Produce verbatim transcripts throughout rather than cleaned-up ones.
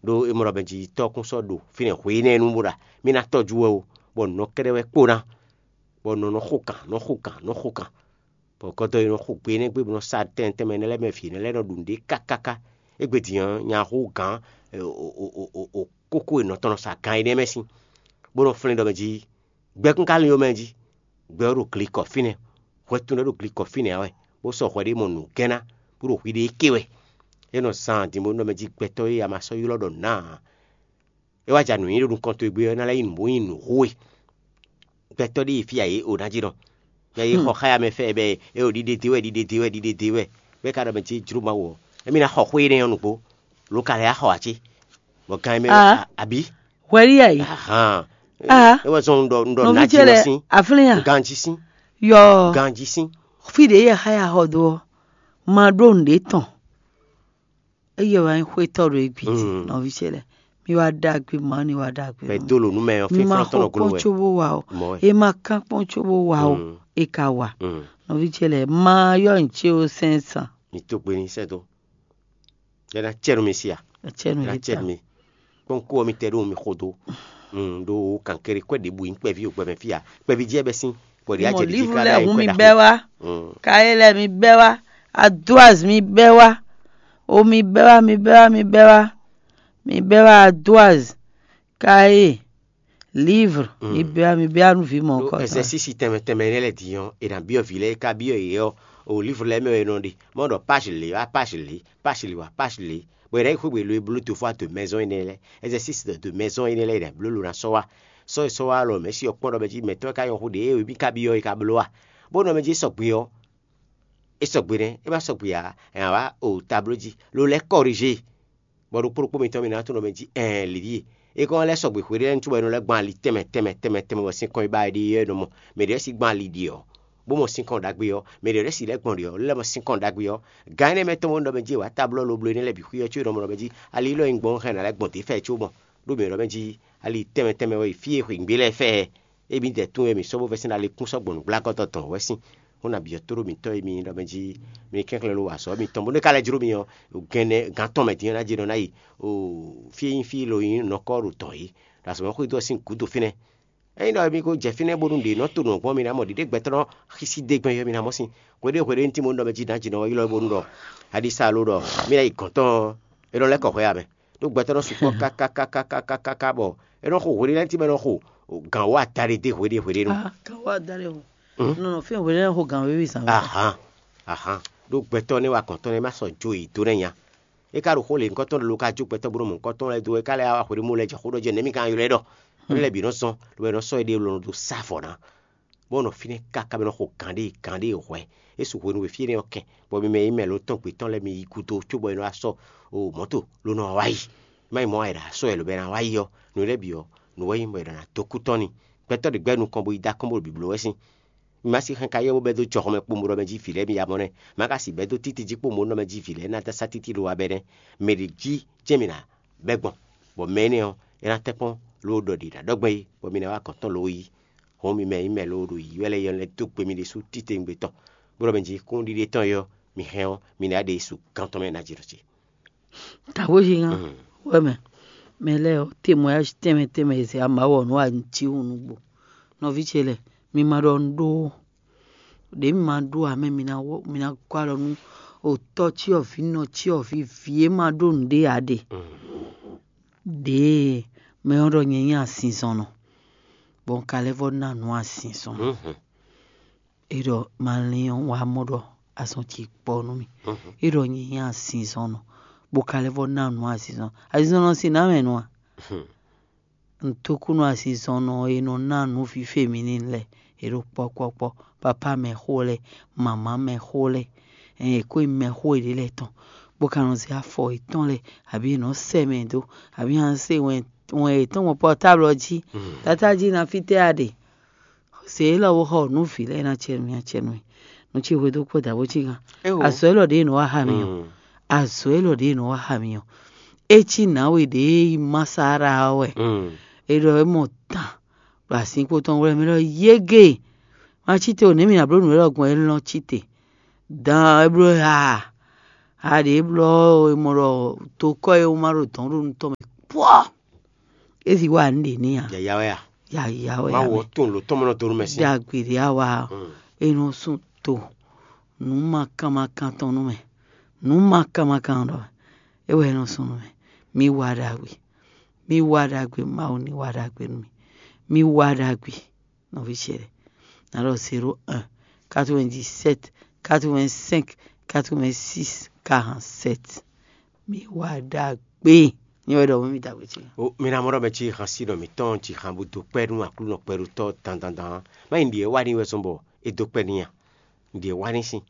Ɖó é mɔ ɖɔ mɛ jí tɔ́ kún sɔ́ ɖo fínɛ́ hwe énɛ́ nu bó ɖa mì ná tɔ́jú wɛ ó, bɔ nǔ nɔ kɛ́ɖɛ́ wɛ kpó ná, bɔ nǔ nɔ xo kan, nǔ nɔ xo kan, nǔ nɔ xo kan, bɔ gɔdɔ e nɔ xo gbe énɛ́ gbe bó nɔ sa tɛn tɛnmɛ énɛ́ lɛ́ɛ mɛ vǐ énɛ́ lɛ́ɛ nɔ ɖu nǔɖé kákáká. Égbé din ɔ́, nya hú gǎn kókó e nɔ tɔn nɔ sa gan énɛ́ mɛ sín, bó nɔ flín ɖɔ mɛ jí gbɛkún ka lin ó mɛ jí. Gbɛ ɔ́ ɖo glikɔ fínɛ́, hwɛtun lɛ́ɛ ɖo glikɔ fínɛ́ ǎ wɛ, bó sɔ́ hwɛ ɖé mɔ nǔgɛ́nná, bó ɖo hwiɖée ké wɛ. É nɔ zan din bó nɔ mɛ jí gbɛtɔ́ e a ma sɔ́ ylɔ́ ɖɔ nǎ ǎ. É wá ja nǔ nyi ɖo nukɔn towe gbe ɔ́, é ná lɛ́ nyí nǔ bó nyí nǔ xó we. Gbɛtɔ́ ɖíe fí a yě o ná jí nɔ. Mɛ e xɔ xá ya mɛ fɛ bɛ é o ɖiɖe dé wɛ, ɖiɖe dé wɛ, ɖiɖe dé wɛ, bɔ é ka ɖɔ mɛ jí jló Mawu ɔ́, émí ná xɔ xwé énɛ́ ɔ́ nǔgbó, lo ka lɛ́ yá xɔ ǎ cé? Bɔ gan e mɛ Ah. Abi? Hwɛɖí yɛ yi. Ahan. Ah. É wɛ zɔn un ɖɔ un ɖɔ Nɔví nǎ ce jí lɛ nɔ sín. Aflín a? Ganjí sín. Yɔ Ganjí sín. Fí ɖě yɛ xá ya xɔ dó ɔ́, ma ɖó nǔɖé tɔn. Eye wɛ nyí xwétɔ́ ɖo égbé jí, Mm. Nɔví ce lɛ́ɛ. Mi wá ɖagbe, ma ni wá ɖagbe. Bɛ dó lo nú mɛ ɔ́, Mi ma fínfɔ́n tɔn xɔ nɔ gló kpɔ́n wɛ. Có bó wa o. Mɔ̌ wɛ. E ma kán kpɔ́n có bó wa o. Mm. E ka wa. Mm. Nɔví ce lɛ́ɛ, ma yɔ nǔ ce o sɛn san. Mi tó gbe ní sɛ́ dó. Yɛ ná cɛ nú mi si a? Acɛ nu Yɛ ná yě cɛ ta. Nú mi. Kpɔ́n kú ɔ́ mi tɛ ɖó mi xo dó. Mm, ɖo kankéré kwɛ ɖěbǔ nyí kpɛví o gbɛmɛ fí a? Kpɛví jí ɛ bɛ sín. Bɔ ɖě Mɔ ajɛ ɖě jí livre ká lɛ ɖ'ayǐ hu kwɛ mi ɖaxó. Bɛ wá. Mm. Kaye lɛ mi bɛ wá. Adoaz mi bɛ wá. O mi bɛ wá, mi bɛ wá, mi bɛ wá. Mi bɛ wá Adoaz. Kaye. Livre. Mm. Mi bɛ wá, mi bɛ wá nú vǐ mɔ Ɖó kɔ. Ɛzɛsísi tɛnmɛ tɛnmɛ énɛ́ lɛ́ɛ din ɔ́, è nǎ byɔ́ vǐ lɛ́ɛ e ka byɔ́ yě ɔ́, o livre lɛ́ɛ mɛ wɛ è nɔ ɖe. Mɔ ɖɔ page lě wá page lě, page lě wá page lě. Bɔ è nǎ yi xwé gbe lo e bló do fɔ de maison énɛ́ lɛ́ɛ, exercice de maison énɛ́ lɛ́ɛ è nǎ bló lo ná sɔ́ wá. Sɔ́ e sɔ́ wá lɔ mɛ̌ si ɔ́ kpɔ́n ɖɔ mɛ jí mɛ̌tɔn e ka nyɔ́ xú ɖě e mì ka byɔ́ é ka bló a? Bó nɔ mɛ jí sɔgbe ɔ́, é sɔgbe nɛ́, é ma sɔgbe ǎ, è nǎ wá o tabló jí, lo lɛ́ kɔrigé. Bɔ ɖokpó ɖokpó mitɔn mi ná tunwun ɖɔ mɛ jí ɛɛn Levíi. É kɔn lɛ́ sɔgbe hweɖé lɛ́ɛ nú cóbɔ é nɔ lɛ́ gbɔn ali tɛnmɛ tɛnmɛ tɛnmɛ tɛnmɛ bɔ sinkɔn e ba é ɖe ɔ́ é nɔ mɔ. Mɛ ɖě lɛ́ɛ si gbɔn ali ɖe ɔ́, bó mɔ sinkɔn ɖagbe ɔ́, lɛ́ mɔ sinkɔn ɖagbe ɔ́. Gǎn énɛ́ mɛ tɔn mɔ ɖɔ mɛ jí è wǎ tablɔ́ lo bló énɛ́ lɛ́ɛ bǐ xwí ɔ́ có é nɔ mɔ ɖɔ mɛ jí ali élɔ́ e un gbɔn hɛn ná lɛ́ gbɔn dě fɛ có mɔ. Ɖó mǐ ɖɔ mɛ jí ali tɛnmɛ tɛnmɛ wɛ yi fí e xweyǐgbe lɛ́ɛ fɛ ɛ. Émí dɛ tún wɛ mǐ sɔ́ bó vɛ́ sín ali kún sɔ́ gbɔn nǔgblákɔ́tɔ́ tɔn wɛ sín. Xó nabǐ ɔ́ tóɖó mǐtɔn e mi ɖɔ mɛ jí mi kɛnklɛ́n lo wa azɔ̌ mitɔn bónú é ka lɛ́ jló mi ɔ́, gɛnɛ gǎn tɔn mɛ din ɔ́ ná jɛ nɔ ná yi fí e nyí fí e lo nyí nɔkɔ́ ɖo tɔn é, ɖo azɔ̌ mɛ xwedó ɔ́ sín gǔdo fínɛ́. Ényí ɖɔ mi ko jɛ fínɛ́ bónú ɖě nɔ to nǔ ɔ́ gbɔn mi ná mɔ ɖiɖégbɛ́tɔ́ nɔ xísí dé gbɛn yɔ mi ná mɔ sín. Hweɖé hweɖé ní tín bónú ɖɔ mɛ jí ná jɛ nɔ ylɔ́ bónú ɖɔ aɖisa lo ɖɔ mí ná yi gɔ̌n tɔn ɔ́, é nɔ lɛ́ kɔ hwɛ ǎ mɛ. Ɖó gbɛtɔ́ nɔ sukpɔ́ kákákákákáká bɔ é nɔ xo hweɖé lɛ́ɛ tɛ́nmɛ nɔ xo gǎn wú ata ɖé dé hweɖé hweɖé nu. Ah, gǎn wú ata ɖé o. Nɔ nɔ fɛn hweɖé lɛ́ɛ xo gǎn wéwí zǎn wú. Ahan, ahan. Ɖó gbɛtɔ́ nɛ́ wa gɔ̌n tɔn nɛ́ ma sɔ jó yě dó nɛ́ nya. É ka ɖo xó lě ŋkɔ́tɔn ɖé lo ka jó gbɛtɔ́ bó nɔ mɔ ŋkɔ́tɔn lɛ́ɛ dó é ka lɛ́ wá hweɖé mɔ lɛ́ɛ jɛ xó ɖɔ jɛ nɛ̌ mi ka ylɔ́ ɛ ɖɔ. Émí lɛ́ɛ bǐ nɔ zɔn, lo wɛ nɔ sɔ́ éɖée lɔ nɔ dó sá vɔ̌ ná. Bó nɔ fínɛ́ káká bɔ é nɔ xo gǎn ɖé gǎn ɖé hwɛ̌. É su hwenu e fí énɛ́ ɔ́ kɛn, bɔ mi mɛ e nyí mɛ lo tɔn gbětɔn lɛ́ɛ mi yi gúdo cóbɔ è nɔ wá sɔ́ o mɔ̌to ló nɔ wá yi. Má nyí mɔ̌ wá è nǎ sɔ́ ɛ lǒbɔ è nǎ wá yi ɔ́, nǔ lɛ́ɛ bǐ ɔ́, nǔ wɛ nyí bɔ è nǎ dó kú tɔn n'i. Gbɛtɔ́ ɖě gbɛ́ nukɔn bó yi dó akɔ́n bó ɖo bǐbló wɛ sín. Mi ma si hɛn ka yɔ bó bɛ́ dó jɔhɔn mɛ kpombo ɖɔ mɛ jí vǐ lɛ́ɛ mi ya mɔ nɛ́. Ma ka si bɛ́ dó títí jí kpombo ɖɔ mɛ jí vǐ lɛ́ɛ ná dó sá títí lo wa bɛ́ nɛ́. Mɛ ɖě jí jɛ́n mi ná bɛ́ gbɔn, bɔ mɛ énɛ́ ɔ́, é ná tɛ́nkpɔ́n ló ɖɔ ɖě ná ɖɔ gbɛn é, bɔ mi ná wá gɔ̌n tɔn lo yi. Hɔn mi mɛ nyí mɛ lóó ɖo yǐyɔ́ lɛ́ɛ yɔ lɛ́ dó gbe mi ɖésú títewungbe tɔn, bó ɖɔ mɛ jí kúnnuɖiɖe tɔn yɔ mi hɛn ɔ́, mi ná ɖe su gán tɔn mɛ ná jǐ ɖɔ ce. Tǎgbójínga wɛ mɛ, mɛ lɛ́ɛ ɔ́, témoignage tɛnmɛ tɛnmɛ e zɛ amǎ wɔ nǔ ajíhun nǔgbó. Nɔví ce lɛ́ɛ, mi ma ɖɔ un ɖó ó. Ɖě mi ma ɖó ǎ mɛ, mi ná wɔ mi ná gɔ́ alɔ nú otɔ́ cyɔ́vǐ nɔ cyɔ́vǐ vǐ e ma ɖó nǔɖé ǎ ɖe. Ɖěe mɛ ɔ́ ɖɔ nyɛ nyí azinzɔnnɔ, bɔ un ka lɛ́ vɔ́ ná nǔ azinzɔnnɔ. É ɖɔ ma lin ɔ́, wǎ mɔ ɖɔ azɔn ce kpɔ nú mì. É ɖɔ nyɛ nyí azinzɔnnɔ, bó ka lɛ́ vɔ́ ná nǔ azinzɔnnɔ. Azinzɔnnɔ sín nǎ mɛ nɔ a? Un tókúnɔ azinzɔnnɔ e nɔ ná nǔ fífé mǐ ní lɛ́ɛ, è ɖo kpɔ́kpɔ́kpɔ́, papá mɛxó lɛ́ɛ, mamǎ mɛxó lɛ́ɛ, ɛn è kó nyí mɛxó yěɖée lɛ́ɛ tɔn, bó ka nɔ zé afɔ yětɔn lɛ́ɛ, abǐ è nɔ sɛ mɛ dó, abǐ a nɔ se wɛn wɛn yětɔn gbɔn pɔtáblɔ jí. Tatá jí ná fítɛ́ a ɖe? Zě élɔ́ bó xɔ nǔ vǐ lɛ́ɛ ná cɛ nú mì, ná cɛ nú mì. Nú ce hwedó kpɔ́ dǎ bó cí gán. Azɔ̌ élɔ́ ɖě è nɔ wá xa mi ɔ́, azɔ̌ élɔ́ ɖě è nɔ wá xa mi ɔ́, é cí nǎwe ɖě e nyí Masára ɔ́ wɛ. É ɖɔ é mɔ tán ɖo azinkpo tɔn wlɛ́ mɛ ɖɔ yége. Ma cí te o, nɛ̌ mi ná bló nǔ élɔ́ gbɔn? É lɔ́n cí te. Dan é bló ha. Ha ɖě é blɔ́ é mɔ ɖɔ tokɔ́ e wú ma ɖo dɔ̌n ɖo nú tɔn mɛ Pɔ́! É si wá nǔ ɖě n'i ǎ. Yǎyá wɛ a? Yǎyá wɛ ǎ. Mawu ɔ́ tunwun lǒ tɔn mɔ nɔ dó nú mɛ sín. Ɖagbe ɖě a wa ɔ́, é nɔ sún to nǔ makan makan tɔn nú mɛ. Nǔ makan makan ɖɔ é wɛ é nɔ sún nú mɛ. Mi wa ɖagbe. Mi wa ɖagbe, Mawu ní wa ɖagbe nú mi. Mi wa ɖagbe, nɔví ce lɛ́ɛ. Ná ɖɔ zéro un, quatre-vingt-dix-sept, quatre-vingt-cinq, quatre-vingt-six, quarante-sept. Mi wa ɖagbe. Nyɛ wɛ ɖɔ mɔ mi da xwe ce. O mi ná mɔ ɖɔ mɛ ce han sí ɖɔ mǐtɔn ci han bó dó kpɛ́ nú Aklúnɔ kpɛɖótɔ́ dandandan. Má nyí ɖi e wá ní wɛ zɔn bɔ é dó kpɛ́ n'i a? Ɖi e wá ní sín.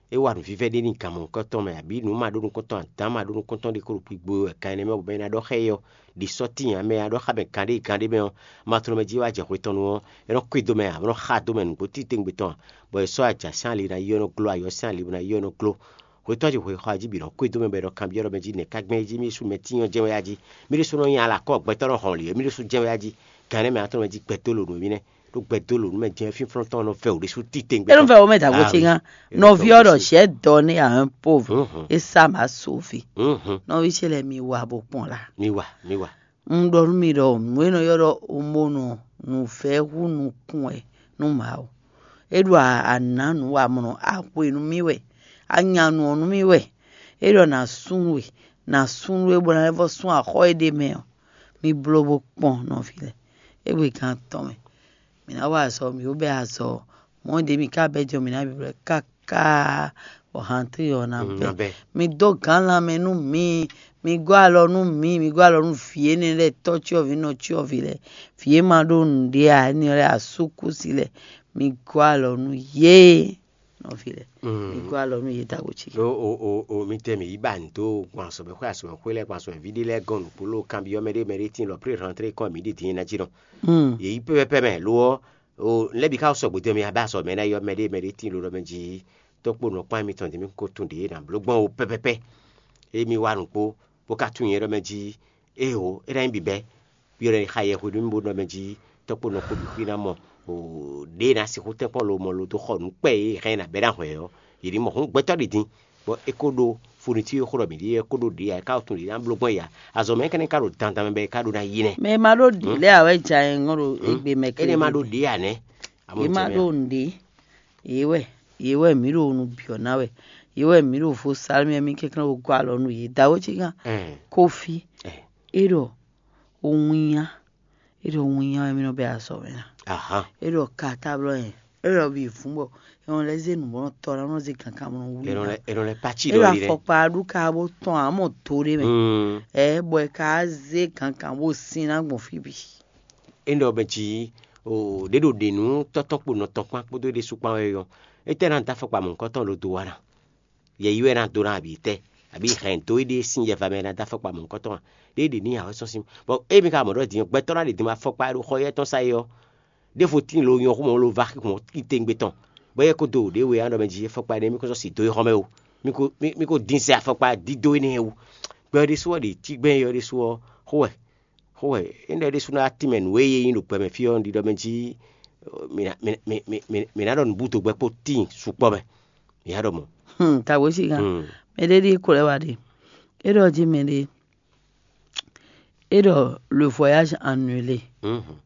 É wa nǔvívɛ́ ɖé n'i gan mɔ̌hunkɔtɔn mɛ, abǐ nǔ ma ɖó nukɔntɔn adǎn ma ɖó nukɔntɔn ɖé kó ɖo kpigbo wɛ kan énɛ́ mɛ bɔ é ná ɖɔ xá ɛ ɔ́, ɖi sɔ́ tíin ǎ mɛ ná ɖɔ xá mɛ gǎn ɖé gǎn ɖé mɛ ɔ́, ma tlɔ́ mɛ jí wá jɛ hwetɔnnu ɔ́, é nɔ kwídó mɛ ǎ, bó nɔ́ xa dó mɛ nǔgbó titewungbe tɔn ǎ, bɔ è sɔ́ aja sín ali ná yi ɔ́ nɔ gló, ayɔ sín ali ná yi ɔ́ nɔ gló. Hwetɔ́ ce hwe xɔ ají bǐ nɔ kwídó mɛ bɔ è nɔ kanbyɔ́ ɖɔ mɛ jí nɛ̌ ká gbɛn é jí mì ɖésú mɛ tíin ɔ́ jɛ́n wɛ a jí? Mì ɖésú nɔ nyi alakɔ́ gbɛtɔ́ nɔ hɔn lě, mì ɖésú jɛ́n wɛ a jí? Gǎn énɛ́ mɛ ná tlɔ́ mɛ jí gbɛdó lǒ nú émí nɛ́. Ɖó gbɛdó lǒ nú mɛ jɛ́n fínflɔ́n tɔn nɔ vɛ wǔ ɖésú titewungbe. É nɔ vɛ wǒ mɛ dǎgbó ce gán. Nɔví ɔ́ ɖɔ: "J'aime donner à un pauvre, et ça m'a sauvé." Nɔví ce lɛ́ɛ, mi wa bó kpɔn la. Mi wa, mi wa. Un ɖɔ nú mi ɖɔ nǔ e nɔ ylɔ́ ɖɔ omonɔ nǔvɛ́ hú nukún wɛ nú Mawu. É ɖo anǎ nǔ wa mɔ̌, a hwe nú mì wɛ, a nya nǔ ɔ́ nú mì wɛ. É ɖɔ nǎ súnnu we, nǎ súnnu we bó ná lɛ́ vɔ́ sún axɔ́ e ɖ'é mɛ ɔ́. Mi bló bó kpɔn nɔví lɛ́ɛ. Égbé gan tɔn mɛ, mǐ ná wa azɔ̌, mǐ ko bɛ́ azɔ̌, mɔ̌ ɖě mǐ ka bɛ́ jɔ mǐ ná bǐblɔ́ ɛ káká, bɔ hantí ɔ́ ná bɛ́. Mi dó gǎn lanmɛ nú mǐ, mi gɔ́ alɔ nú mǐ, mi gɔ́ alɔ nú vǐ énɛ́ lɛ́ɛ, tɔ́ cyɔ́vǐ, nɔ cyɔ́vǐ lɛ́ɛ, vǐ e ma ɖó nǔɖé ǎ, énɛ́ lɛ́ɛ, asúkúsi lɛ́ɛ, mi gɔ́ alɔ nú yě, nɔví lɛ́ɛ, mi gɔ́ alɔ nú yě dǎgbo cí. O o o o mi tɛ mǐ yi ba nǔ dó gbɔn azɔ̌mɛxwé azɔ̌mɛxwé lɛ́ɛ gbɔn azɔ̌mɛví ɖé lɛ́ɛ gɔ́n nǔgbó ló kanbyɔ́ mɛ ɖé mɛ ɖé tíin lɔ plé rantré kɔn mǐ ɖi din ná jí nɔ. Yě yi pɛ́pɛ́pɛ́ mɛ lo ɔ́, o lɛ́ bǐ ká sɔgbe dó mɛ abá azɔ̌ mɛ ná yɔ mɛ ɖé mɛ ɖé tíin lo ɖɔ mɛ jí tɔ́kpó nɔ kpán mitɔn din mí ko tún ɖě ná bló gbɔn o pɛ́pɛ́pɛ́. Émi wá nǔgbó bó ka tunwun nyɛ ɖɔ mɛ jí éeǒ é ná nyí bǐbɛ́. Byɔ́ ɖɔ xa yɛhweɖumi bó ɖɔ mɛ jí tɔ́kpó nɔ kpó bǐ xwí ná mɔ ɖě e ná sixú tɛ́nkpɔ́n lo mɔ lo dó xɔ nǔ kpɛ́ e hɛn ná bɛ́ ná hwɛ̌ ɔ́, yě ní mɔ hǔn gbɛtɔ́ ɖi din, bɔ é kó ɖó funití e xó ɖɔ mǐ ɖe é kó ɖó ɖě ǎ, é ká tunwun ɖě ná bló gbɔn ya. Azɔ̌ mɛ énɛ́ ka ɖo dandan mɛ bɔ é ka ɖó ná yi nɛ́. Mɛ e ma ɖó ɖě lɛ́ɛ ǎ wɛ ja nyɛ ŋɔ́ ɖo égbé mɛ. Énɛ́ ma ɖó ɖě ǎ nɛ́. Yě ma ɖó nǔɖé. Yě wɛ, yě wɛ mǐ ɖo nu byɔ̌ ná wɛ. Yě wɛ mǐ ɖo vo salmí wɛ mí kɛnklɛ́n ɖo gɔ́ alɔ nú yě. Dǎwe ce gán. Kófí. É ɖɔ winnyá. É ɖɔ winnyá wɛ mí nɔ bɛ́ azɔ̌ mɛ ná. É ɖɔ katáblɔ́ nyɛ. É ɖɔ bǐ vún bɔ è nɔ lɛ́ zé nǔ bó nɔ tɔ ná nɔ zé kankan bó nɔ wlí ná. È nɔ lɛ́ pacíɖɔ ɖi lɛ́. Afɔkpa ɖu ka bó tɔn ǎ mɔ do ɖé mɛ. Ɛ bɔ è ka zé kankan bó sin ná gbɔn fí bǐ. É ɖɔ mɛ jí ɖě ɖo ɖě nú tɔ́tɔ́ kpo nɔ tɔn kpán kpódó é ɖésú kpán wɛ ɔ́, étɛ́ ná dó afɔkpa mɔ̌hunkɔtɔn ɖo do wa ná? Yɛ yi wɛ ná dó ná abǐ tɛ́? Abǐ hɛn dó éɖée sín yɛva mɛ ná dó afɔkpa mɔ̌hunkɔtɔn a? Ɖé ɖě ní awɛ sɔ́ sín. Bɔ émi ka mɔ ɖɔ din gbɛtɔ́ ná ɖe din wá afɔkpa e ɖo xɔ yɛ́ tɔn sa é ɔ́, ɖěvo tíin lo nyɔ xó mɔ lo va xixɔn titewungbe tɔn, bɔ éyɛ́ kó dó ɖě we ɔ́ ɖɔ mɛ jí afɔkpa énɛ́ mì ko sɔ́ si dó é xɔ mɛ o. Mì ko mì ko dín sɛ afɔkpa dídó énɛ́ wú. Gbɛ ɔ́ ɖésú ɔ́ ɖe cí gbɛn é ɔ́ ɖésú ɔ́ xó wɛ. Xó wɛ. Énɛ́ ɖésú ná tínmɛ nǔ e yé nyí ɖo gbɛ mɛ fí ɔ́ un ɖiɖɔ mɛ jí mǐ ná ɖɔ nǔbúdo gbɛ kpó tíin sukpɔ́ mɛ. Mǐ ná ɖɔ mɔ̌. Hmm, tawe sigan. Mɛ ɖé ɖi ko lɛ wa ɖe. É ɖɔ jí mɛ ɖé. É ɖɔ le voyage annulé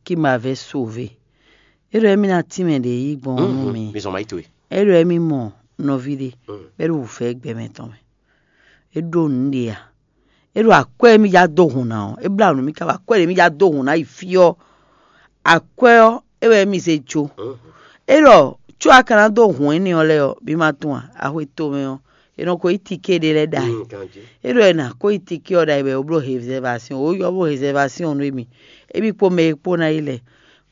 qui m'avait sauvé. É ɖɔ émí ná tínmɛ ɖě yí gbɔn nú mi. Mi zɔn ma yi towe. É ɖɔ émí mɔ nɔví ɖé bɛ́ ɖo wǔvɛ́ gbɛ mɛ tɔn mɛ. É ɖó nǔ ɖé a? É ɖo akwɛ́ e mì já dó hǔn ná ɔ́, é blá nǔ mì káká akwɛ́ ɖě mì já dó hǔn ná yi fí ɔ́, akwɛ́ ɔ́, é wɛ mì zé jó. É ɖɔ có a ka ná dó hǔn énɛ́ ɔ́ lɛ́ɛ ɔ́, mi ma tunwun a? Axwe tomɛ ɔ́, è nɔ ko yí tiké ɖé lɛ́ɛ ɖ'ayǐ. É ɖɔ è nǎ ko yí tiké ɔ́ ɖ'ayǐ bɔ è ko bló rézɛ́vasyɔn, wǒ yɔ bló rézɛ́vasyɔn nú émí, émí kpó mɛ e kpó ná yi lɛ́ɛ,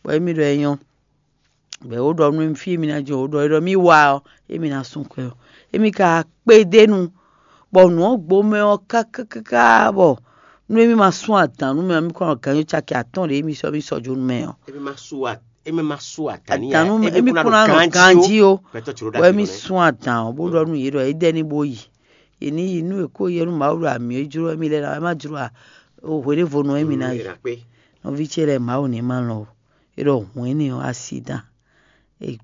bɔ émí ɖɔ é nyɔ́. Bɔ é wǒ ɖɔ nú émí fí e mì ná jɛ wǒ ɖɔ é ɖɔ mì wá ɔ́, émí ná sún kwɛ ɔ́, émí ka kpédénu, bɔ nǔ ɔ́ gbo mɛ ɔ́ káká bɔ nú émí ma sún adǎn nú mɛ ɔ́, mì kɔn nɔ gǎnjó caki atɔ́ɔ́n ɖě émí sɔ́ mì sɔ́ jó nú mɛ ɔ́. Émí ma sú a- émí ma sú adǎn ní Adǎn nú émí kún ná ɖo mì ganjí ó. Gbɛtɔ́ ci ɖó bɔ ɖagbe émí nɔ sún adǎn ɔ́, bó ɖɔ nú yě ɖɔ é dɛ́ ní bó yi. Yě ní yi nú è kó yɛ nú Mawu ɖo amǐ e jló émí lɛ́ɛ ná wɛ é má jló a? O hweɖévonu émí ná yi. Nɔví ce lɛ́ɛ Mawu ní ma lɔn o. É ɖɔ hǔn énɛ́ ɔ́ asidán. É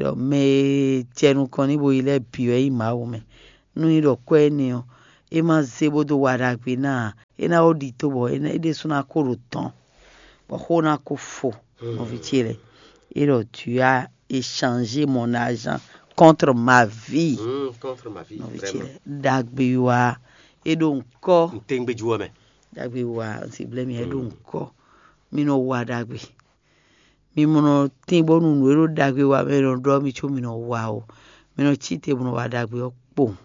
ɖɔ mɛ e jɛ nukɔn ní bo yi lɛ́ɛ bǐ wɛ nyí Mawu mɛ. Nú nyí ɖɔ kwɛ́ énɛ́ ɔ́, É ma zé bó dó wa ɖagbe ná ǎ. É ná ó ɖi tó bɔ é ná- é ɖésú ná kó ɖo tɔn, bɔ xó ná kó fo. Nɔví ce lɛ́ɛ, é ɖɔ tu as échangé mon argent contre ma vie. Hmm, contre ma vie. Nɔví ce Vraiment. Lɛ́ɛ, ɖagbe wa é ɖo ŋkɔ. N tɛngbɛjú ɔ́ mɛ. Ɖagbe wa n si blɛ́ mi é ɖo ŋkɔ. Mi nɔ wa ɖagbe. Mi mɔ nɔ tín bónú nǔ e ɖo ɖagbe wa mɛ nɔ ɖɔ mi có mi nɔ wa o. Mi nɔ cí te bó nɔ wa ɖagbe ɔ́ kpowun.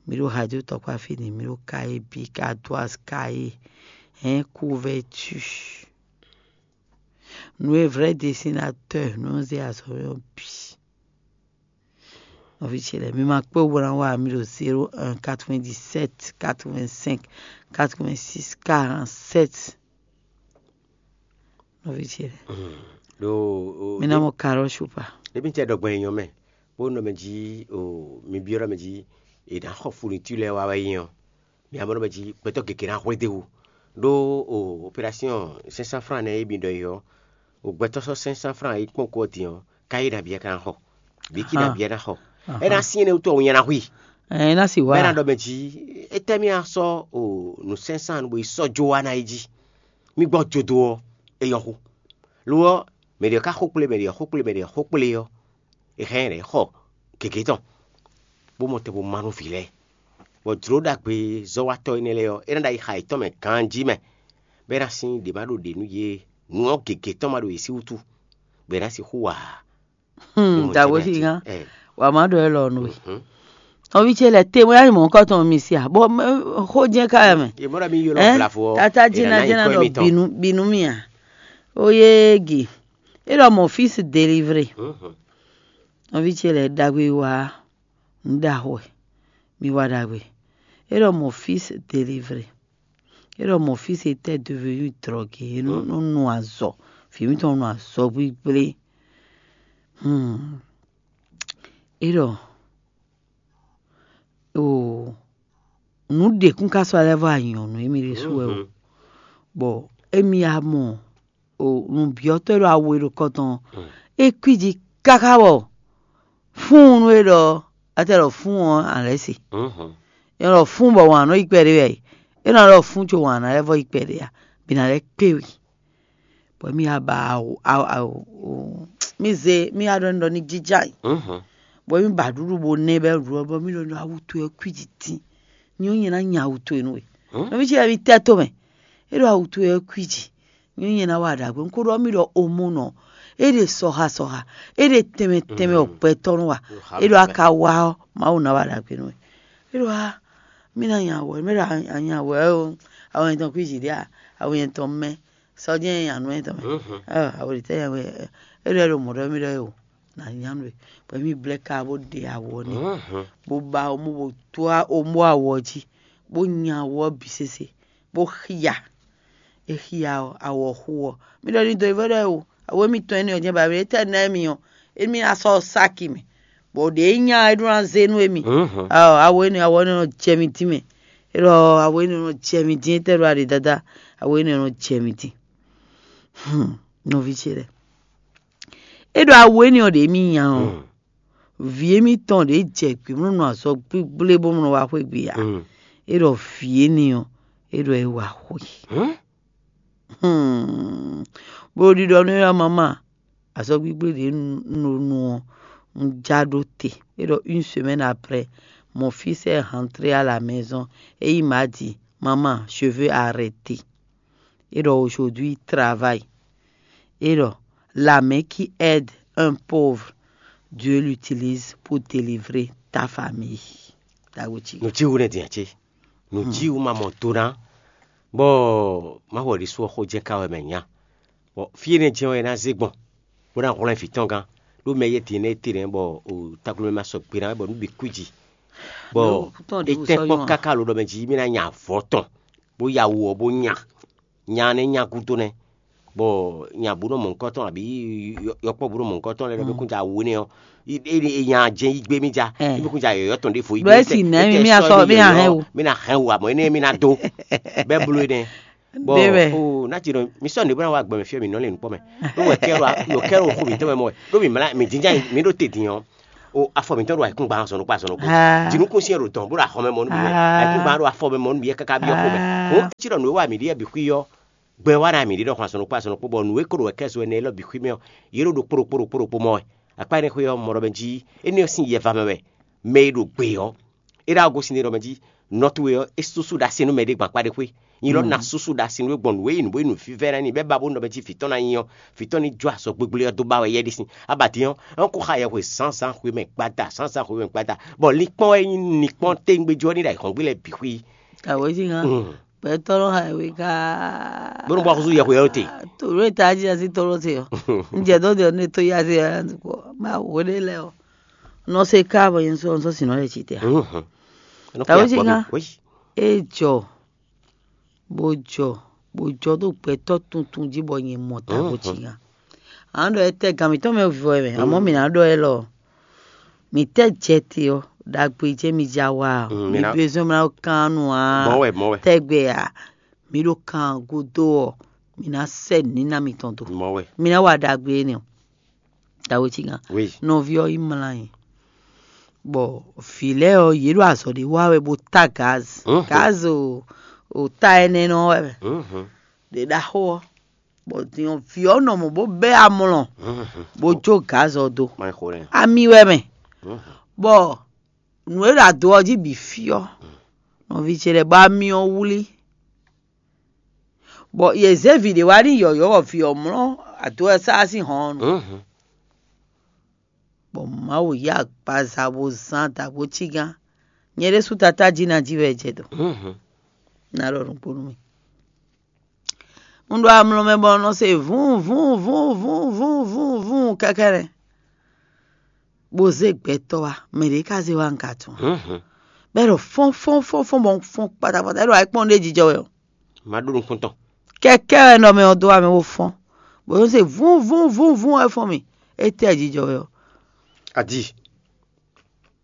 Mi ɖo radio tɔkpá fini, mi ɖo kaye bí, kadoise kaye, hein, couverture. Nous est vrai dessinateur, nous est azɔyɔ bi. Nɔví ce lɛ́ɛ, mi ma kpé wú bó ná wa mi ɖo zéro un quatre-vingt-dix-sept quatre-vingt-cinq quatre-vingt-six quarante-sept. Nɔví ce lɛ́ɛ, Ɖo mi ná mɔ karɔ supa. Ebi tɛ ɖɔgbɛn nyɔ mɛ, bó nɔ mɛ jí o mi byɔ́ mɛ jí e ná xɔ fourniture lɛ́ɛ wá wɛ nyi ɔ́, mi amɔ nɔ mɛ jí gbɛtɔ́ gěgé ná hwlé dó wú. Ɖó o opération cinq cents francs nɛ́ e mi ɖɔ é ɔ́, o gbɛtɔ́ sɔ́ cinq cents francs e kpɔ́n kú ɔ́ din ɔ́, ká yé nabí ká ná xɔ, bǐ kí nabí ná xɔ. É ná syɛ́n énɛ́ wútu ɔ́, wun nya ná hu i. Ɛ ná sì wá. Bɛ́ ná ɖɔ mɛ jí, étɛ́ mì a sɔ́ o nǔ sɛnsɛn bó yi sɔ́ jó wá ná yi jí? Mì gbɔ jodo ɔ́, é nyɔ́ xú. Lo ɔ́, mɛ ɖě ká xó kplé, mɛ ɖě xó kplé, mɛ ɖě xó kplé ɔ́, è hɛn ɖě xɔ gěgé tɔn, bó mɔ tɛn bó má nú vǐ lɛ́ɛ, bɔ jlǒ ɖagbe zɔ́watɔ́ énɛ́ lɛ́ɛ ɔ́, é ná ɖo ayixa yětɔn mɛ ganjí mɛ, bɔ é ná sín ɖě ma ɖo ɖě nú yě, nǔ ɔ́ gěgé tɔn ma ɖo yě sí wútu, bɔ è nǎ sixú wa ǎ. Hmm, dagbo sí gán. Wà má ɖɔ ɛ lɔ nù we. Nɔví ce lɛ te wɛ mɔ kɔtɔn mi sia bɔ xó jɛ ká yɛ mɛ. Yebora mi yɔrɔ blafo. Tata jina jina dɔ binu binu mi a. Oye gi. E lɔ mɔ fils délivré. Nɔví ce lɛ dagbe wa. N da xɔ. Mi wa dagbe. E lɔ mɔ fils délivré. E lɔ mɔ fils était devenu drogué. E nɔ nu azɔ. Fi mi tɔn nu azɔ gbigblé. Hmm. E ɖɔ o nǔ ɖě kún ka sɔ́ lɛ́ vɔ anyɔ̌nu émí ɖésú wɛ o, bɔ émí ya mɔ o nǔbyɔ́tɔ́ e ɖo awo e ɖo kɔ tɔn ɔ́, é kwíji káká bɔ fúnnu e ɖɔ atɛ ɖɔ fún ɔ́ alɛ̌ se. É ɖɔ fún bɔ wǎn nɔ yi kpɛɖé wɛ, é nɔ ɖɔ fún co wǎn ná lɛ́ vɔ yi kpɛɖé a, bǐ ná lɛ́ kpé we. Bɔ mì ya ba awu awu awu mì zé mì ya ɖɔ nɖɔ ní jija yi. Bɔ mì ba ɖuɖu bo nɛ bɛ ɖu ɔ bɔ mì ɖɔ nɖɔ awu towe ɔ́ kwíji dín. Nyɔ nyɛ ná nya awu towe nú we. Nɔ mì ci wɛ mì tɛ to mɛ. É ɖo awu towe ɔ́ kwíji. Nyɔ nyɛ ná wa ɖagbe. Un ko ɖɔ mì ɖɔ omo nɔ. É ɖe sɔha sɔha. É ɖe tɛnmɛ tɛnmɛ ɔkpɛtɔ nú wa. É ɖo aka wa ɔ́ Mawu ná wa ɖagbe nú we. É ɖo a mì ná nya awɔ mì ɖo anya awɔ ɛ o. Awu yɛn tɔn kwíji ɖe a awu yɛn tɔn mɛ. Sɔ́ jɛ́n nya nú ɛ tɔn mɛ. Awu ɖi tɛ nya wɛ é ɖɔ é ɖo mɔ̌ ɖɔ mì ɖɔ é o. Nà nya nú ɛ. Bɔ mì blɛ́ ka bó ɖe awɔ n'i. Bó ba omó bó tó omó awɔ jí. Bó nya awɔ bǐ sese. Bó xia. É xia ɔ́, awɔ xú ɔ́. Mì ɖɔ ní do yi vɔ ɖɔ é o. Awɔ émí tɔn énɛ́ ɔ́ jɛ́n ba mì étɛ́ ná émí ɔ́. Émí ná sɔ́ sáki mɛ. Bɔ ɖě nyí nya é ɖó ná zé nú émí. Awo awo énɛ́ awɔ énɛ́ nɔ jɛ mi dín mɛ. É ɖɔ awo énɛ́ nɔ jɛ mi dín étɛ́ ɖo aɖě dáadáa. Awo énɛ́ nɔ jɛ mi dín. Hmm, nɔví ce lɛ́ɛ. É ɖɔ awu énɛ́ ɔ́ ɖě mì nya ɔ́, vǐ émítɔn ɖě jɛ gbě mlɔ́nɔ azɔn gbígblé bó mlɔ́ wá xwé gbe ǎ. É ɖɔ vǐ énɛ́ ɔ́, é ɖɔ é wá xwé. Hmm. Bó ɖiɖɔ nú éyɔ́ mama azɔn gbígblé ɖě un ɖo nu ɔ́, un já ɖó te. É ɖɔ une semaine après, mon fils est rentré à la maison et il m'a dit, maman, je veux arrêter. É ɖɔ aujourd'hui travail. É ɖɔ la main qui aide un pauvre, Dieu l'utilise pour délivrer ta famille. Dago ci. Nùjíwu nɛ dìnyà ce. Nùjíwu ma mɔ do ná. Bɔ Mawu ɖi sú xó jɛ ká wɛ mɛ nya. Bɔ fí énɛ́ jɛ́n wɛ é ná zé gbɔn, bó ná hwlɛ́n vǐ tɔn gán. Ɖó mɛ yɛ́ din énɛ́ é te nɛ́ bɔ taglomɛ ma sɔgbe ná wɛ bɔ nǔ bǐ kwíji. Bɔ é tɛ́ kpɔ́ káká lo ɖɔ mɛ jí mì ná nya avɔ tɔn, bó ya wu ɔ́ bó nya. Nya nɛ́ nya gúdo nɛ́. Bɔ nya bú nɔ mɔ nukɔn tɔn abǐ yɔkpɔ́ bú nɔ mɔ nukɔn tɔn lɛ́ɛ ɖɔ bí kún ja wú nɛ́ ɔ́, é nya jɛ́n yí gbé mì ja, bí kún ja yɔ̌yɔ́ tɔn ɖěvo yí gbé. Ɖɔ é si nɛ́ mi mì asɔ mì ahɛn o. Mì ná hɛn o, amɔ̌ énɛ́ mì ná dó. Bɛ́ bló énɛ́. Bɔ o ná ci nɔ mi sɔ́ nǔ bó ná wá gbɔn mɛ fí ɔ́ mǐ nɔ lɛ́ nǔkpɔ́ mɛ. Ɖó wɛ kɛ́ ɖo kɛ́ ɖo xo mǐtɔn mɛ mɔ wɛ. Ɖó mǐ mlá mǐ jínjá mǐ ɖo te din ɔ́. O afɔ mǐtɔn ɖo ayǐkúngban azɔn ɖokpó azɔn ɖokpó. Jinukúnsin e ɖo dɔn bó ɖo axɔmɛ mɔ nú mǐ wɛ. Ayǐkúngban ɖo afɔ mɛ mɔ nú mǐ wɛ káká byɔ́ xomɛ. Hǔn cí ɖɔ nǔ e wa mǐ ɖe bǐ xwí ɔ́, gbɛ wa ná mǐ ɖe ɖɔ xɔn azɔn ɖokpó azɔn ɖokpó, bɔ nǔ e ko ɖo wɛ kɛ́ zo ɛnɛ élɔ́ bǐ xwí mɛ ɔ́, yě ɖo ɖokpó ɖokpó ɖokpó ɖokpó mɔ wɛ. Akpá énɛ́ xwé ɔ́, mɔ ɖɔ mɛ jí énɛ́ ɔ́ sín yɛ va mɛ wɛ. Mɛ e ɖo gbe ɔ́, é ɖo agosin ɖɔ mɛ jí nɔtu we ɔ́, é súsú ɖo asi nú mɛ ɖé gbɔn akpá ɖé xwé. Nyi lɔ ná súsú ɖo asi nú we gbɔn nǔ e nyí nǔ bó nyí nǔvívɛ́ ná nyi bɔ é ba bó nɔ mɛ jí vǐ tɔn ná nyi ɔ́, vǐ tɔn ní jó azɔ̌ gbégbé ɔ́ dó ba wɛ yɛ ɖé sin. Abadín ɔ́, é kó xa yɛhwe zǎnzǎn xwe mɛ gbada, zǎnzǎn xwe mɛ gbada, bɔ linkpɔ́n e nyí linkpɔ́n téngbéjú ɔ́ ní ɖo ayǐhɔ́ngbe lɛ́ɛ bǐ xwí. Awǒ jí hán. Gbɛtɔ́ nɔ xa yɛhwe ká. Bónú bɔ xúsú yɛhwe ɔ́ te. Tòló e tají así tɔ́ló te ɔ́. Un jɛ dó de ɔ́ ní tó yá se ɔ́ kɔ. Má wǒ ɖé lɛ ɔ́. Nɔ se ká bɔ nyɛ sɔ sɔ sinɔ lɛ ci te. Tawo jí ká. É jɔ bó jɔ bó jɔ ɖo gbɛtɔ́ tuntun jí bɔ nyɛ mɔ ta bó cí nya. Ǎ ɖɔ é tɛ gan mǐtɔn mɛ vɔ ɛ mɛ, amɔ̌ mǐ ná ɖɔ élɔ́. Mǐ tɛ jɛ te ɔ́, ɖagbe jɛ́n mi ja wa ɔ́, mi ɖo ezɔ́n mla kán nu ǎ. Mɔ̌ wɛ, mɔ̌ wɛ. Tɛgbɛ ǎ, mi ɖo kan gúdo ɔ́, mi ná sɛ nǔ níná mitɔn dó. Mɔ̌ wɛ. Mi ná wa ɖagbe énɛ́ ɔ́. Tawo cí nya. Nɔví ɔ́ yi mlá nyi. Bɔ vǐ lɛ́ɛ ɔ́, yě ɖo azɔ̌ ɖé wa wɛ bó tá gaz. Gaz o, o ta ɛnɛ nɔ wɛ mɛ. Ɖě ɖaxó ɔ́, bɔ din ɔ́, vǐ ɔ́ nɔ mɔ bó bɛ́ amlɔ, bó jó gaz ɔ́ dó. Ami wɛ mɛ. Bɔ nǔ e ɖo ado ɔ́ jí bǐ fí ɔ́, nɔví ce lɛ́ɛ bɔ ami ɔ́ wlí. Bɔ yě zé vǐ ɖé wá n'i yɔ̌yɔ́ bɔ vǐ ɔ́ mlɔ́ ado ɔ́ sá sín hɔn ɔ́ nu. Bɔ Mawu yí agbaza bó zán dǎgbó cígán. Nyɛ ɖésú tatá jí ná jí wɛ jɛ dɔ̌n. Ná ɖɔ nǔgbó nú mi. Un ɖo amlɔ mɛ bɔ un nɔ se vǔn vǔn vǔn vǔn vǔn vǔn vǔn kɛkɛ́nɛ́, bó zé gbɛtɔ́ wá, mɛ ɖě ka zé wá un ka tunwun. Bɔ é ɖo fɔ́n fɔ́n fɔ́n fɔ́n bɔ un fɔ́n kpatakpata, é ɖo ayǐkpɔ́n ɖé jijɔ wɛ ɔ́. Má ɖó nukún tɔn. Kɛkɛ́ wɛ nɔ mɛ ɔ́ dó wá mɛ bó fɔ́n, bɔ é se vún vún vún vún wɛ fɔ́n mì. Étɛ́ jijɔ wɛ ɔ́? Adi.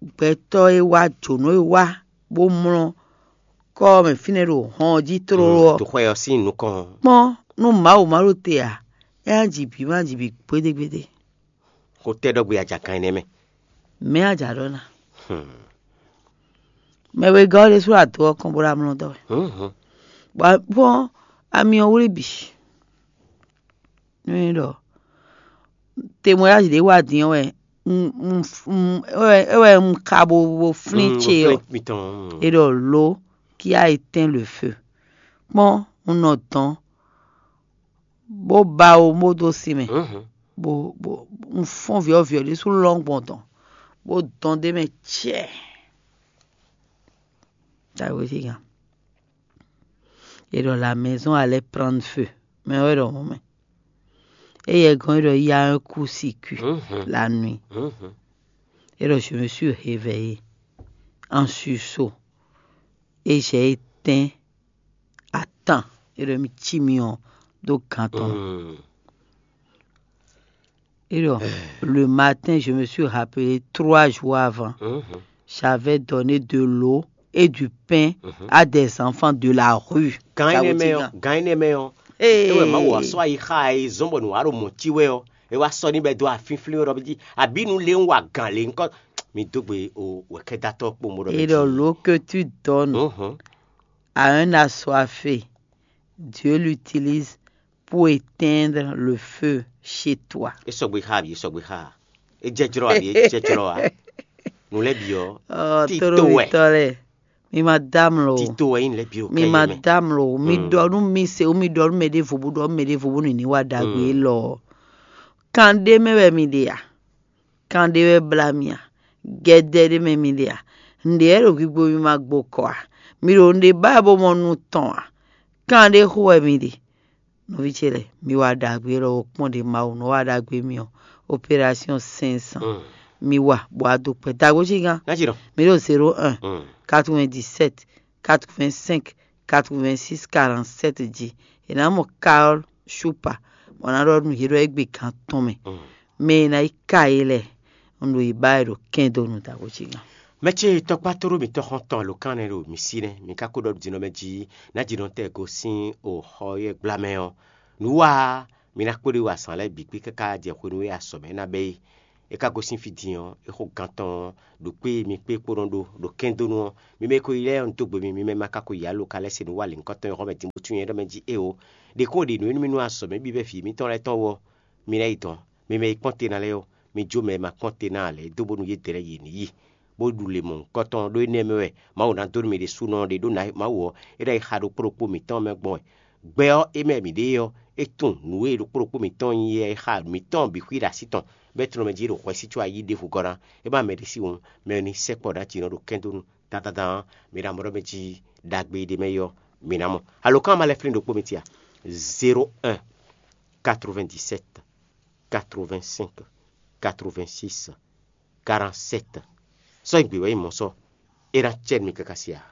Gbɛtɔ́ e wá jǒnɔ e wá bó mlɔ́ kɔ́ ɔ́ mɛ fínɛ́ ɖo hɔn ɔ́ jí tlóló ɔ́, Toxwɛ ɔ́ sín nukɔn. Kpɔ́n nú Mawu ma ɖo te ǎ, é ná ji bǐ ma ji bǐ gbédégbédé. Xó tɛ́ ɖɔgbe ajakan énɛ́ mɛ. Mɛ̌ a jǎ ɖɔ ná? Mɛ wegɔ́ ɔ́ ɖésú ado ɔ́ kɔn bó ɖo amlɔ dɔ́ wɛ. Bɔ ami ɔ́ wlí bǐ. Nú é ɖɔ temweyázi ɖé wá din ɔ́ wɛ un- un- un- é wɛ- é wɛ un xa bo bo flín ce ɔ́. Mitɔn. É ɖɔ lǒ kí a yi tɛ́n le feu. Kpɔ́n un nɔ dɔn bó ba wo bó dó sin mɛ, bó bó un fɔ́n vǐɔ́vǐɔ ɖésú lɔ́n gbɔn dɔn, bó dɔn d'é mɛ cɛ́ɛ. Dǎwe sígan. È ɖɔ la maison allait prendre feu, mɛ wɛ ɖɔ mɔ̌ mɛ. Éyɛ́ gɔ́n é ɖɔ il y a un court-circuit la nuit. É ɖɔ je me suis réveillé en sursaut et j'ai éteint à temps. É ɖɔ mi cí mi ɔ́ dó gan tɔn. Et donc, le matin, je me suis rappelé trois jours avant. J'avais donné de l'eau et du pain à des enfants de la rue. Gan énɛ́ mɛ ɔ́, gan énɛ́ mɛ ɔ́, é wɛ Mawu wá sɔ́ ayi xá e zɔ́n bɔ nǔ wá ɖo mɔ̌ cí wɛ ɔ́, é wá sɔ́ n'i bɔ é dó afínflín wɛ ɖɔ jí abǐ nu lé ń wa gǎn lě ŋkɔ. Mi dó gbe o wɛ̌kɛ́datɔ́ kpó mo ɖɔ. Et donc, l'eau que tu donnes, à un assoiffé, Dieu l'utilise pour éteindre le feu chez toi. É sɔgbe xá abi, é sɔgbe xá. É jɛ jlɔ́ abi, é jɛ jlɔ́ a. Nǔ lɛ́ bǐ ɔ́, Ɔ tito wɛ. Tolówitɔ lɛ, mi ma dá amlɔ o. Tito wɛ nyí nǔ lɛ́ bǐ o. Mi ma dá amlɔ o. Mi ɖɔ nú mi se, mi ɖɔ nú mɛ ɖěvo bó ɖɔ nú mɛ ɖěvo bónú ní wá ɖagbe élɔ́ ɔ́. Kan ɖé mɛ wɛ mi ɖe a? Kan ɖé wɛ blá mi a? Gɛdɛ ɖé mɛ mi ɖe a? Nǔɖé wɛ ɖo gbigbo mi ma gbo kɔ a? Mi ɖo nǔɖé ba wɛ bó mɔ nu tɔn a? Kan ɖé xo wɛ mi ɖe. Nɔví ce lɛ́ɛ, mi wa ɖagbe lɔ kpɔ́n ɖě Mawu nɔ wa ɖagbe mi ɔ́, opération cinq cents. Mi wa bɔ a do kpɛ dagbo cí gán. Ná ci ɖɔ. Mi ɖo zéro un, quatre-vingt-dix-sept, quatre-vingt-cinq, quatre-vingt-six, quarante-sept jí. È nǎ mɔ Carole Shupa, bɔ ná ɖɔ nú yě ɖɔ égbé gán tɔn mɛ. Mɛ e ná yi ka yě lɛ́ɛ, un ɖo yi ba wɛ ɖo kɛn dó nu dagbo cí gán. Mɛ ce tɔkpá tlóló mǐtɔn xɔ́ntɔn alǒkan nɛ́ ɖo mǐ sí nɛ́, mǐ ka ko ɖɔ ɖo din ɔ́ mɛ jí ná jǐnɔtɛn gosín o xɔ yɛ́ gbla mɛ ɔ́. Nǔ wa ɔ́, mi ná kpóɖó yi wa azǎn lɛ́ɛ bǐ kpí káká jɛ hwenu e azɔ̌ mɛ ná bɛ́ é. É ka gosín fí din ɔ́, é xo gan tɔn ɔ́, ɖo kpé e mi kpé kpó nɔ ɖó ɖo kɛndónú ɔ́, mi mɛ e ko yi lɛ́ɛ ɔ́, un dó gbe mi, mi mɛ ma ka ko yi alo ka lɛ́ se nǔ wa lěhunkɔtɔn e xɔ mɛ din bó tunwun nyɛ ɖɔ mɛ jí éeǒ. Ɖě kɔn ɖe nǔ e nú mì nú azɔ̌ mɛ bíbɛ́ vǐ mitɔn lɛ́ɛ tɔn ɔ́, mi ná yi dɔ̌n. Mi mɛ e kpɔ́n te ná lɛ́ɛ ɔ́, mi jó mɛ e ma kpɔ́n te ná ǎ lɛ́ɛ dó bónú yě dɛ lɛ́ɛ yě ní yi, bó ɖu lě mɔ̌hunkɔtɔn ɖó énɛ́ mɛ wɛ Mawu ná dó nú mi ɖésúnɔ ɖe ɖó Mawu ɔ́, é ná yi xa ɖokpó ɖokpó mǐtɔn mɛ gbɔn wɛ. Gbɛ ɔ́, é mɛ mǐ ɖe é ɔ́, é tunwun nǔ e ɖokpó ɖokpó mǐtɔn nyí é xa mǐtɔn bǐ xwí ɖo así tɔn, bɔ é tlɔ́n mɛ jí ɖo hwɛsí có ayí ɖěvo gɔ́ ná. É má mɛ ɖé sí wun, mɛ e ní sɛkpɔ́ ɖó aci nɔ ɖo kɛ́ndónú. Dandan dan ɔ́, mi ná mɔ ɖɔ mɛ jí ɖagbe ɖé mɛ é ɔ́, mi ná mɔ. Alǒkan ma lɛ́ flín ɖokpó mi tia: zéro un, quatre-vingt-dix-sept, quatre-vingt-cinq, quatre-vingt-six, quarante-sept. Sɔ́ nyi gbě wɛ nyí mɔ̌ sɔ́, é ná cɛ nú mi káká sia.